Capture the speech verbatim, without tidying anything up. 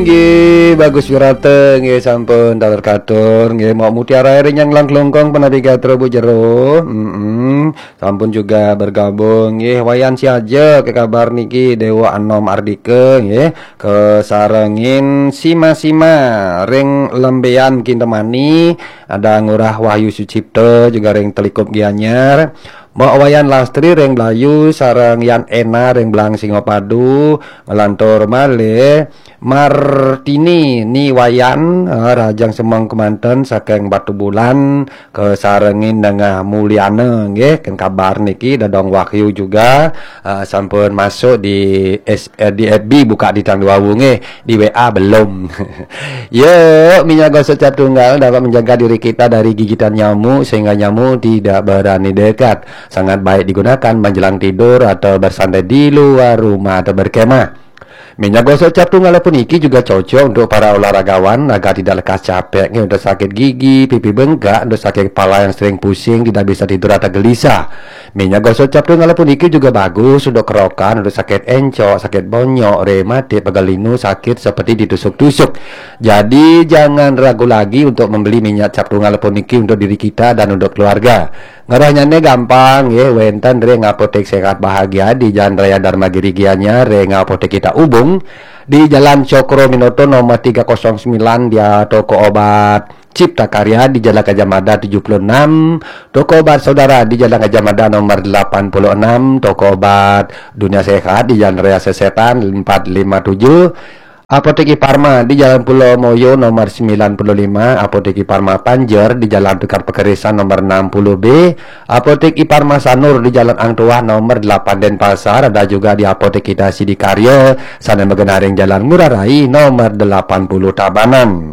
Nggih, bagus wirata, nggih sampun taler katur, nggih mau mutiara ring nyang langklungkung penapi gatra Bu Jero. Mm-mm. Sampun juga bergabung, nggih Wayan Siaja ke kabar niki Dewa Anom Ardika, nggih kesarengin sima-sima ring Lembean Kintemani, ada Ngurah Wahyu Sucipta juga ring Telikup Gianyar. Mbok Wayan Lastri ring Blayu sareng Yan Ena ring Blang Singapadu, ngelantur malih Martini Ni Wayan, eh, Rajang Semeng kemanten saking Batu Bulan, kesarengin Nengah Mulyana nggih, ken kabar niki Dadong Wahyu juga, eh, sampun masuk di S, eh, di F B buka di tang dua nggih, di W A belum. Yuk, minyak gosok cap tunggal dapat menjaga diri kita dari gigitan nyamuk sehingga nyamuk tidak berani dekat. Sangat baik digunakan menjelang tidur atau bersantai di luar rumah atau berkemah. Minyak gosok cap tunggal puniki juga cocok untuk para olahragawan agar tidak lekas capek, nggih, untuk sakit gigi, pipi bengkak, untuk sakit kepala yang sering pusing, tidak bisa tidur atau gelisah. Minyak gosok cap tunggal puniki juga bagus untuk kerokan, untuk sakit encok, sakit bonyok, rematik, pegal linu, sakit seperti ditusuk-tusuk. Jadi jangan ragu lagi untuk membeli minyak cap tunggal puniki untuk diri kita dan untuk keluarga. Ngerahnyane gampang, nggih, wenten ring Apotek Sehat Bahagia di Jalan Raya Dharma Giri Gianyar, ring Apotek kita Ubung di Jalan Cokro Minoto nomor tiga kosong sembilan, dia toko obat Cipta Karya di Jalan Gajah Mada tujuh puluh enam, toko obat Saudara di Jalan Gajah Mada nomor delapan puluh enam, toko obat Dunia Sehat di Jalan Raya Sesetan empat lima tujuh, Apotek Iparma di Jalan Pulau Moyo nomor sembilan puluh lima, Apotek Iparma Panjer di Jalan Tukad Pekerisan nomor enam puluh B, Apotek Iparma Sanur di Jalan Ang Tuah nomor delapan Denpasar, ada juga di Apotek kita Sidikarya, sana magenaring Jalan Ngurah Rai nomor delapan puluh Tabanan.